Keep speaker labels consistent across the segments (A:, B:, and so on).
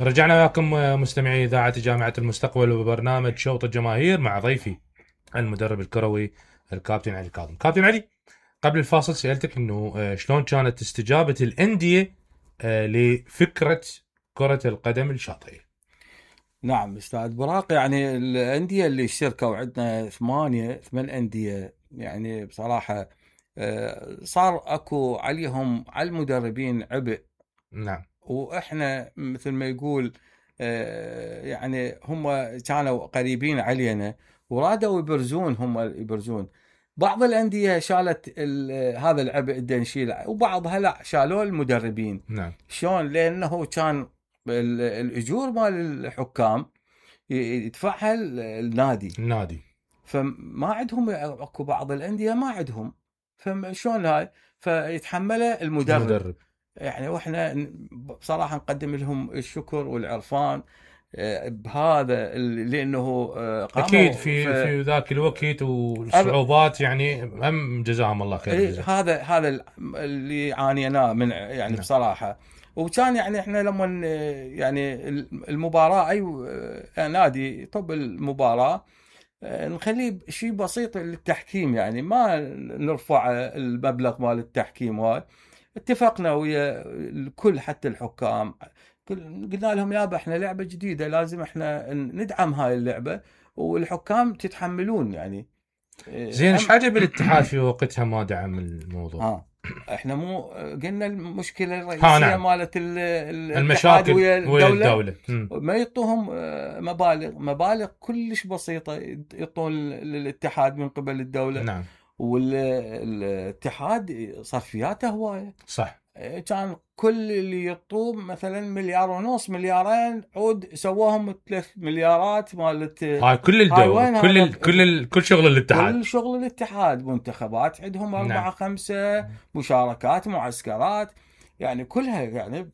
A: رجعنا وياكم مستمعي إذاعة جامعة المستقبل وبرنامج شوط الجماهير مع ضيفي المدرب الكروي الكابتن علي كاظم. كابتن علي، قبل الفاصل سألتك إنه شلون كانت استجابة الأندية لفكرة كرة القدم الشاطئية.
B: نعم أستاذ براق، يعني الأندية اللي اشتركوا عندنا ثمان أندية، يعني بصراحة صار أكو عليهم على المدربين عبء.
A: نعم.
B: وإحنا مثل ما يقول يعني هم كانوا قريبين علينا ورادوا يبرزون، هم يبرزون. بعض الأندية شالت هذا العبء اللي نشيله، وبعضها لا شالوه المدربين.
A: نعم.
B: شلون؟ لأنه كان الأجور مال الحكام يدفعها النادي، فما عندهم. اكو بعض الانديه ما عندهم، فشلون هاي؟ فيتحمله المدرب. يعني واحنا بصراحه نقدم لهم الشكر والعرفان بهذا، لانه قاموا
A: اكيد في ذاك الوقت والصعوبات، يعني هم جزاهم الله خير.
B: هذا اللي عانيناه من يعني بصراحه. وكان يعني احنا لما يعني المباراه اي نادي طب المباراه نخليه شيء بسيط للتحكيم، يعني ما نرفع المبلغ مال التحكيم. هاي اتفقنا ويا الكل حتى الحكام، قلنا لهم يابا احنا لعبه جديده لازم احنا ندعم هاي اللعبه، والحكام تتحملون يعني.
A: زين، ايش حاجه بالاتحاد في وقتها ما دعم الموضوع؟
B: احنا مو قلنا المشكله الرئيسيه نعم. مالت
A: المشاكل ويا الدوله
B: ما يعطوهم مبالغ كلش بسيطه يعطون للاتحاد من قبل الدوله.
A: نعم.
B: والاتحاد صرفياته هوايه.
A: صح.
B: كان كل اللي يعطوه مثلا 1.5 مليار، 2 مليار عود سواهم 3 مليارات مالت
A: هاي كل الدوله، كل شغل الاتحاد،
B: كل شغل الاتحاد. منتخبات عندهم 4-5 مشاركات، معسكرات، يعني كلها يعني.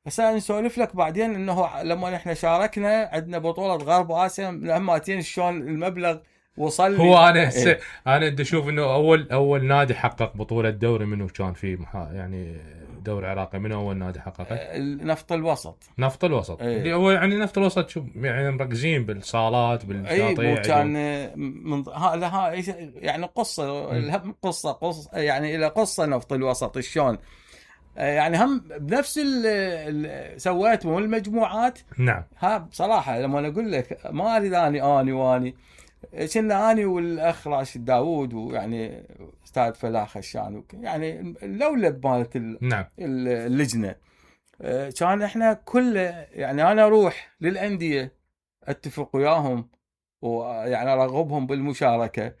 B: هسه نسولف لك بعدين انه لما احنا شاركنا عندنا بطوله غرب اسيا لما شلون المبلغ وصل.
A: هو انا انا بدي اشوف انه اول نادي حقق بطوله دوري منو كان في يعني دوري عراقي، من اول نادي حققه؟
B: نفط الوسط.
A: اللي هو يعني نفط الوسط، شوف يعني مركزين بالصالات بالشاطئ.
B: كان من يعني قصه يعني الى قصه نفط الوسط شلون يعني هم بنفس سويتهم المجموعات.
A: نعم.
B: ها بصراحه لما انا اقول لك ما اريد اني كنا اني والاخ راشد داوود، ويعني استاذ فلاح خشان، يعني اللولب مالت
A: نعم.
B: اللجنه. كان احنا كله يعني انا اروح للانديه اتفق وياهم ويعني ارغبهم بالمشاركه.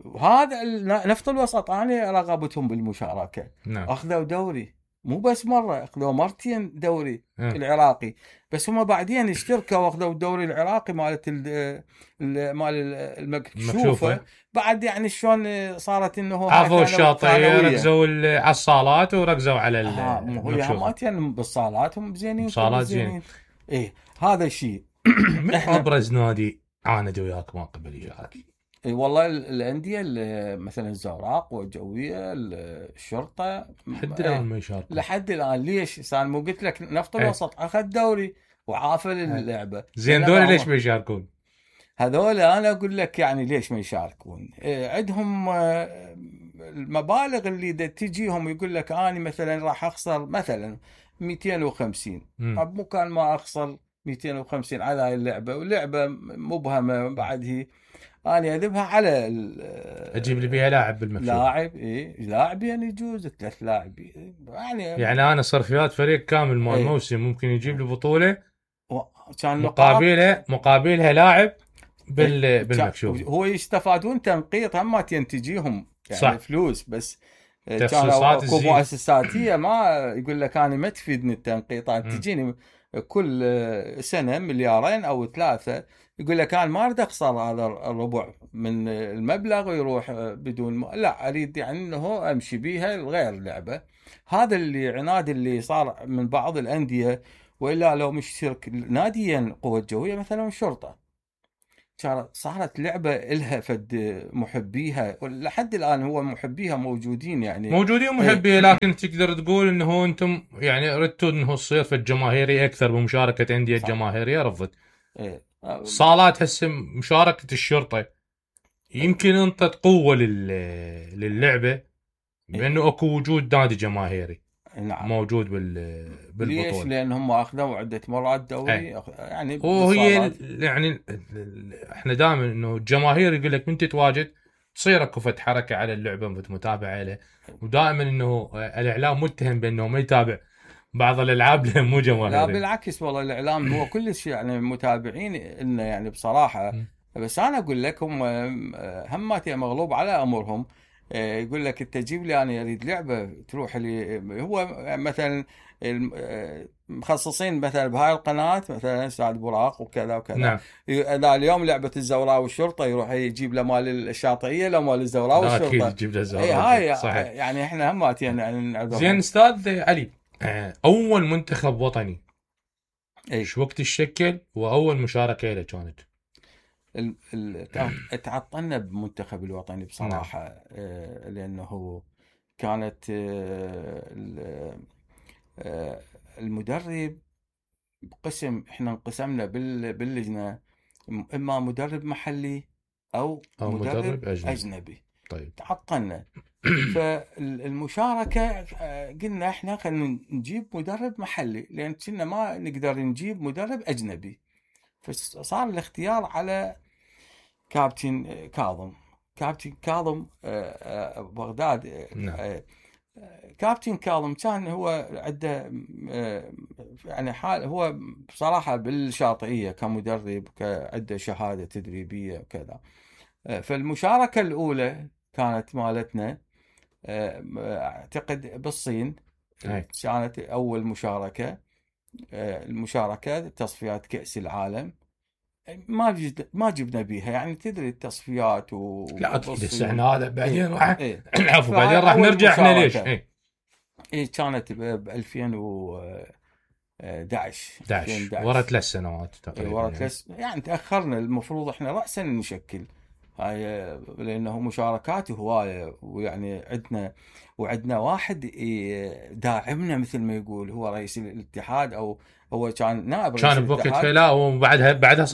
B: وهذا نفط الوسط انا رغبتهم بالمشاركه.
A: نعم.
B: اخذوا دوري، مو بس مره، اخذوا مرتين دوري العراقي. بس هم بعدين اشتركوا واخذوا الدوري العراقي مالت مال المكشوفه. بعد يعني شلون صارت انه
A: عرفوا الشاطئ، ركزوا على الصالات وركزوا على
B: المكشوفه. يعني بالصالات هم زينين،
A: صالات زين.
B: ايه هذا الشيء.
A: من ابرز نادي عاند وياك ما قبل يشارك؟
B: والله الانديه مثلا الزوراق والجويه، الشرطه،
A: لحد الان ما يشاركون.
B: لحد الان ليش؟ صار مو قلت لك نفط الوسط اخذ دوري وعافل اللعبه.
A: زين دول ليش ما يشاركون؟
B: هذول انا اقول لك يعني ليش ما يشاركون. عندهم المبالغ اللي تجيهم يقول لك انا مثلا راح اخسر مثلا 250، مو كان ما اخسر 250 على هاي اللعبه، واللعبه مبهمه. بعد هي انا اذبها على
A: اجيب لي بيها لاعب بالمكشوف.
B: لاعب يعني يجوز 3 لاعبين
A: يعني انا صرفيات فريق كامل مال موسم ممكن يجيب لي بطوله
B: كان
A: مقابلها لاعب بالمكشوف.
B: هو يستفادون تنقيط هم تجيهم يعني
A: صح.
B: فلوس. بس
A: تخصيصات
B: اكو مؤسساتيه ما يقول لك انا ما تفيدني التنقيطات. تجيني كل سنه 2 مليار أو 3، يقول لك انا ما اريد اخسر هذا الربع من المبلغ ويروح بدون لا اريد يعني انه امشي بيها غير لعبه. هذا اللي عناد اللي صار من بعض الانديه. والا لو مش شرك ناديا قوه جويه مثلا الشرطه صارت لعبه الها فد محبيها، ولحد الان هو محبيها موجودين يعني.
A: موجودين محبيه، لكن تقدر تقول انه انتم يعني ردتوا انه تصير في الجماهيري اكثر بمشاركه انديه جماهيريه رفضت. صالات هسه مشاركه الشرطه يمكن انطت قوه للعبه بانه اكو وجود نادي جماهيري
B: نعم
A: موجود بالبطوله.
B: ليش؟ لان هم اخذوا عده مرات دوري يعني.
A: وهي يعني احنا دائما انه الجماهير يقول لك من تتواجد تصير اكو فت حركه على اللعبه متابعه له، ودائما انه الاعلام متهم بانه ما يتابع بعض الالعاب لان مو جماهيري.
B: لا بالعكس والله الاعلام هو كلش يعني متابعين انه يعني بصراحه. بس انا اقول لك هم هماتي مغلوب على امرهم. يقول لك انت جيب لي انا اريد لعبه تروح لي. هو مثلا مخصصين مثلا بهاي القناه مثلا سعد براق وكذا وكذا.
A: نعم.
B: اليوم لعبه الزوراء والشرطه يروح يجيب له مال الشاطئيه لو مال الزوراء والشرطه.
A: اكيد يجيب له الزوراء.
B: هاي
A: صحيح.
B: يعني احنا هماتي يعني
A: زين استاذ علي، اول منتخب وطني ايش وقت الشكل واول مشاركه له كانت؟
B: تعطلنا بمنتخب الوطني بصراحه. لانه كانت المدرب قسم، احنا انقسمنا باللجنه اما مدرب محلي او مدرب اجنبي.
A: طيب
B: تعطلنا. فالمشاركه قلنا احنا خلينا نجيب مدرب محلي لان كنا ما نقدر نجيب مدرب اجنبي. فصار الاختيار على كابتن كاظم بغداد.
A: نعم.
B: كابتن كاظم كان هو عنده يعني حال، هو بصراحة بالشاطئية كمدرب عنده شهادة تدريبية وكذا. فالمشاركة الأولى كانت مالتنا أعتقد بالصين. كانت أول مشاركة. المشاركة تصفيات كأس العالم ما جبنا بيها يعني تدري التصفيات
A: لا اكيد هسه احنا هذا بعدين راح العفو بعدين راح نرجع احنا ليش
B: كانت ب 2011
A: ورا 3 سنوات تقريبا.
B: ورا يعني تاخرنا. المفروض احنا راسا نشكل هاي لانه مشاركات هوايه، ويعني وعندنا واحد داعمنا مثل ما يقول هو رئيس الاتحاد، او هو كان نائب رئيس
A: الاتحاد. كان بوقتها لا، وبعدها بعدين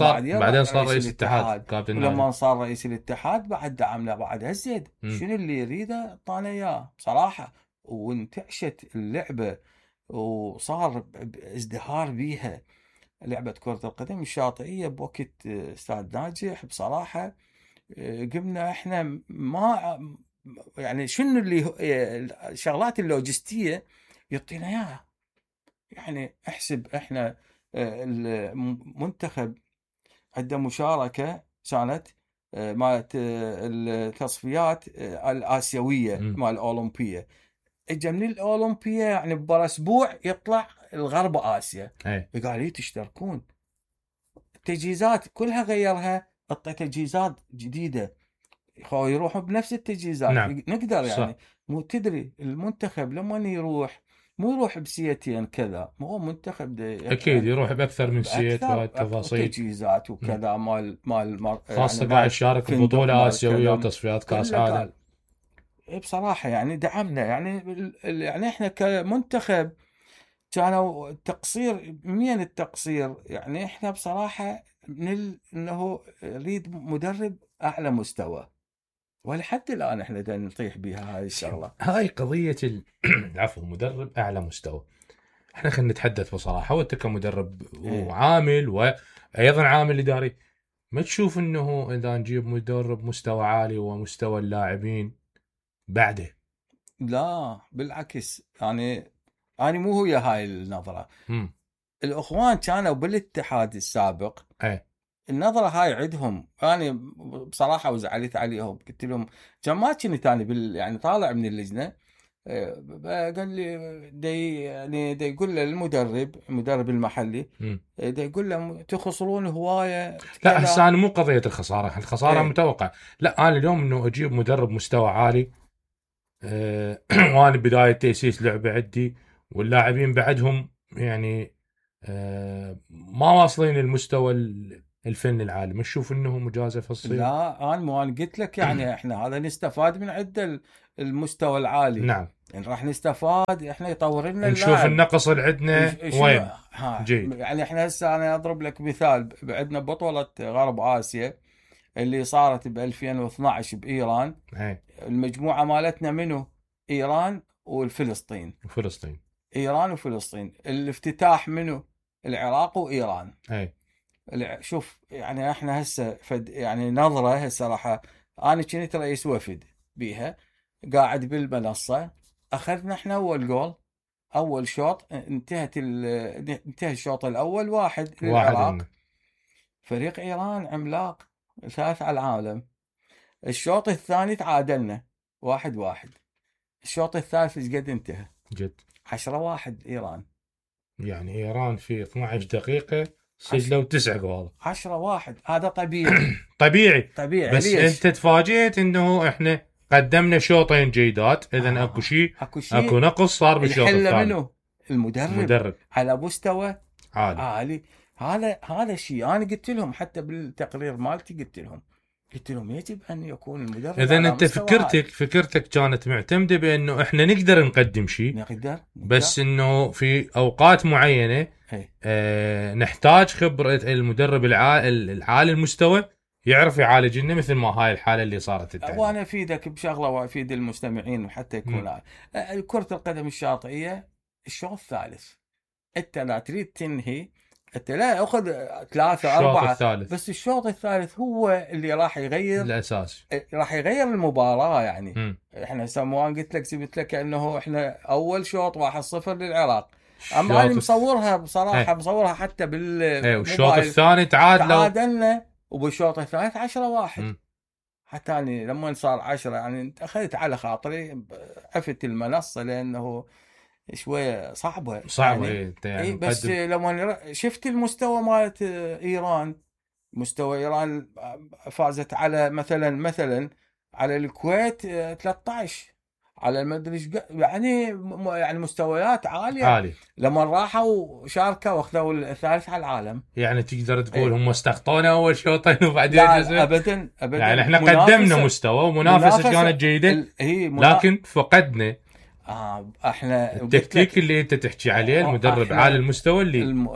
A: صار رئيس الاتحاد كابتن.
B: ولما صار رئيس الاتحاد بعد دعمنا بعد هالزيد. شنو اللي يريده اعطانا اياه بصراحه. وانتعشت اللعبه وصار ازدهار بيها لعبه كره القدم الشاطئيه بوقت استاذ ناجح بصراحه. قمنا احنا ما يعني شنو اللي الشغلات اللوجستيه يعطينا اياها. يعني احسب احنا المنتخب عنده مشاركه كانت مالت التصفيات الاسيويه مال الاولمبيه. اجى من الاولمبيه يعني ببرا اسبوع يطلع الغرب اسيا. قال لي تشتركون. التجهيزات كلها غيرها، حط تجهيزات جديده يروحوا بنفس التجهيزات.
A: نعم.
B: نقدر يعني مو تدري المنتخب لما يروح مو يروح بسيتين كذا، مو منتخب
A: اكيد يروح باكثر من سيت وتفاصيل
B: تجهيزات وكذا مال
A: خاصه قاعد يشارك ببطوله اسيويه وتصفيات كاس عالم.
B: بصراحه يعني دعمنا يعني احنا كمنتخب كانوا تقصير من التقصير. يعني احنا بصراحه انه نريد مدرب اعلى مستوى، ولحد الان احنا نطيح بها هاي الشغله.
A: هاي قضيه العفو مدرب اعلى مستوى. احنا خلينا نتحدث بصراحه، وانت كمدرب وعامل وايضا عامل اداري، ما تشوف انه اذا نجيب مدرب مستوى عالي ومستوى اللاعبين بعده؟
B: لا بالعكس. يعني انا مو هي هاي النظره. الاخوان كانوا بالاتحاد السابق النظره هاي عندهم. انا بصراحه وزعلت عليهم، قلت لهم كان ما كنت انا يعني طالع من اللجنه. قال لي يعني يقول له المدرب المحلي يقول له تخسرون هوايه.
A: لا هسه انا مو قضيه الخساره متوقع. لا انا اليوم انه اجيب مدرب مستوى عالي وانا بدايه تاسيس لعبه عندي واللاعبين بعدهم يعني ما واصلين المستوى الفن العالي، ما تشوف انه مجازفه تصير؟
B: لا انا قلت لك يعني احنا هذا نستفاد من عند المستوى العالي.
A: نعم.
B: يعني راح نستفاد، احنا يطور لنا
A: نشوف
B: اللاعب.
A: النقص اللي عندنا وين. جيد.
B: يعني احنا هسه انا اضرب لك مثال، عندنا بطولة غرب اسيا اللي صارت ب 2012 بايران.
A: هي.
B: المجموعة مالتنا منو؟ ايران والفلسطين.
A: وفلسطين.
B: ايران وفلسطين. الافتتاح منو؟ العراق وايران.
A: هي.
B: شوف يعني احنا هسه يعني نظرة هسه انا كنت رئيس وفد بيها، قاعد بالمنصة، اخذنا احنا اول جول، اول شوط انتهى الشوط الاول 1 للعراق. فريق ايران عملاق، ثالث على العالم. الشوط الثاني تعادلنا 1-1. الشوط الثالث ايش قد انتهى؟
A: جد
B: 10-1 ايران.
A: يعني ايران في 12 دقيقة سجلوا 9 جوال.
B: 10-1 هذا طبيعي.
A: طبيعي. بس ليش؟ انت تفاجئت انه احنا قدمنا شوطين جيدات، اذا اكو شيء اكو نقص صار بالشوط الثاني.
B: منو؟ المدرب على مستوى عالي. هذا الشيء انا قلت لهم حتى بالتقرير مالتي، قلت لهم يجب ان يكون المدرب.
A: اذا انت فكرتك كانت معتمده بانه احنا نقدر نقدم شيء،
B: نقدر.
A: بس انه في اوقات معينه نحتاج خبره المدرب العالي المستوى يعرف يعالج لنا، مثل ما هاي الحاله اللي صارت.
B: وانا افيدك بشغله وافيد المستمعين حتى يكون كره القدم الشاطئيه الشوط الثالث، انت لا تريد تنهي، انت لا اخذ 3-4، بس الشوط الثالث هو اللي راح يغير
A: الاساس،
B: راح يغير المباراه. يعني احنا سموان قلت لك جبت لك انه احنا اول شوط 1-0 للعراق، اما انا مصورها بصراحه مصورها حتى بالموبايل.
A: والشوط الثاني
B: تعادلنا، وبالشوط الثالث 10-1. حتى اني لما صار 10 يعني اخذت على خاطري، عفت المنصه لانه شويه صعبه يعني بس لما شفت المستوى مالت ايران، مستوى ايران فازت على مثلا على الكويت 13، على المدري يعني مستويات عاليه. لما راحوا شاركوا واخذوا الثالث على العالم.
A: يعني تقدر تقول هم استخطونا اول شوطين وبعدين
B: ابدا
A: يعني احنا قدمنا مستوى ومنافسه كانت جيده، لكن فقدنا
B: احنا
A: التكتيك اللي انت تحكي عليه، المدرب عالي المستوى اللي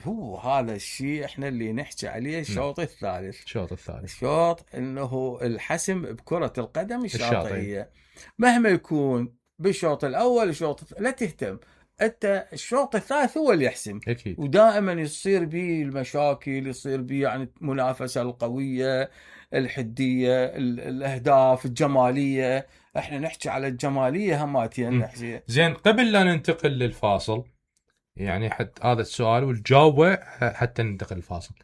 B: هو هذا الشيء احنا اللي نحكي عليه. الشوط الثالث الشوط انه الحسم بكرة القدم الشاطئية، مهما يكون بالشوط الاول الشوط لا تهتم انت، الشوط الثالث هو اللي يحسم
A: أكيد.
B: ودائما يصير به المشاكل، يصير به يعني المنافسة القوية، الحدية، الاهداف، الجمالية. احنا نحكي على الجماليه هماتين نحكي.
A: زين قبل لا ننتقل للفاصل، يعني حتى هذا السؤال والجوابه حتى ننتقل للفاصل.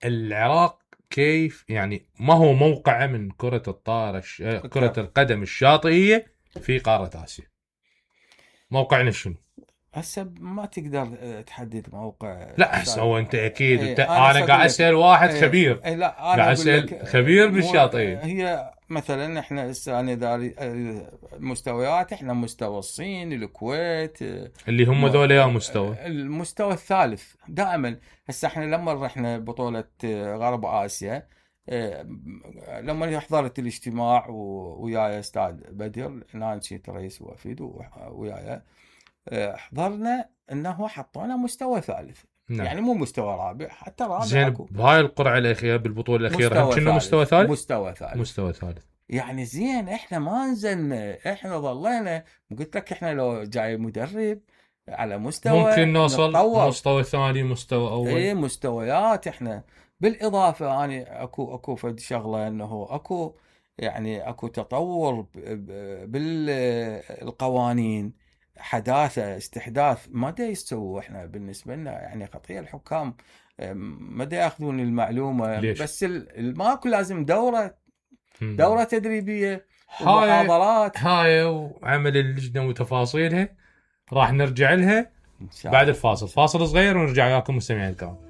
A: العراق كيف يعني ما هو موقعه من كرة الطائرة كرة القدم الشاطئية في قارة آسيا؟ موقعنا شنو؟
B: هسه ما تقدر تحدد موقع.
A: لا هسه هو انت اكيد انا قاعد اسال واحد خبير.
B: لا
A: قاعد اسال خبير بالشاطئيه.
B: هي مثلا احنا هسه انا داري المستويات، احنا مستوى الصين، الكويت،
A: اللي هم ذول يا مستوى
B: المستوى الثالث دائما. هسه احنا لما رحنا بطوله غرب اسيا، لما حضرت الاجتماع وياي استاذ بدر، انا كنت رئيس وفد وياي، حضرنا انه حطونا مستوى ثالث. نعم. يعني مو مستوى رابع، حتى رابع.
A: زين بهاي القرعه الاخيره بالبطوله الاخيره هم كنا مستوى ثالث.
B: يعني زين احنا ما نزلنا، احنا ظلينا. قلت لك احنا لو جاي مدرب على مستوى
A: ممكن نوصل مستوى ثاني، مستوى اول.
B: اي مستويات احنا. بالاضافه اني اكو فد شغله انه اكو تطور بالقوانين، حداثه استحداث ما دا يستووا. احنا بالنسبه لنا يعني خطيه الحكام ما دا ياخذون المعلومه.
A: ليش؟
B: بس ماكو لازم دوره تدريبيه ومحاضرات.
A: هاي وعمل اللجنه وتفاصيلها راح نرجع لها بعد الفاصل. فاصل صغير ونرجع وياكم مستمعين الكرام.